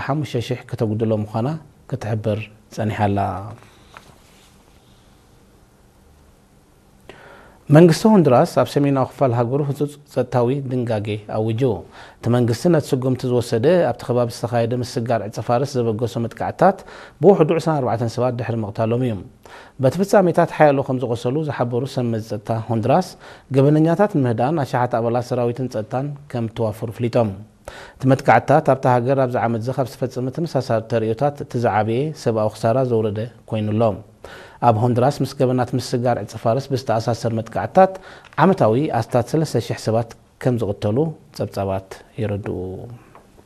ሓሙሽተ ሽሕ ከተጉድሎ ምዃና ክትሕብር ጸኒሓ ኣላ። መንግስቲ ሆንዱራስ ኣብ ሰሜናዊ ክፋል ሃገሩ ህጹጽ ጸጥታዊ ድንጋጌ ኣዊጁ። እቲ መንግስቲ ነቲ ስጉምቲ ዝወሰደ ኣብቲ ከባቢ ዝተኻየደ ምስጋር ዕጸ ፋርስ ዘበገሶ መጥቃዕትታት ብውሕዱ ዕስራን ኣርባዕተን ሰባት ድሕሪ ምቕታሎም እዩ። በቲ ፍጻሜታት ሓያሎ ከም ዝቖሰሉ ዝሓበሩ ሰብ መዚ ጸጥታ ሆንዱራስ፣ ገበነኛታት ንምህዳን ኣሽሓት ኣባላት ሰራዊትን ጸጥታን ከም እተዋፈሩ ኣፍሊጦም። እቲ መጥቃዕትታት ኣብታ ሃገር ኣብዚ ዓመት እዚ ካብ ዝተፈጸመ ተመሳሳሊ ተርእዮታት እቲ ዝዓበየ ሰብኣዊ ክሳራ ዘውረደ ኮይኑ ኣሎ። ኣብ ሆንዱራስ ምስ ገበናት ምስጋር ዕጸ ፋርስ ብዝተኣሳሰር መጥቃዕትታት ዓመታዊ ኣስታት ሰለስተ ሽሕ ሰባት ከም ዝቕተሉ ጸብጻባት የረድኡ።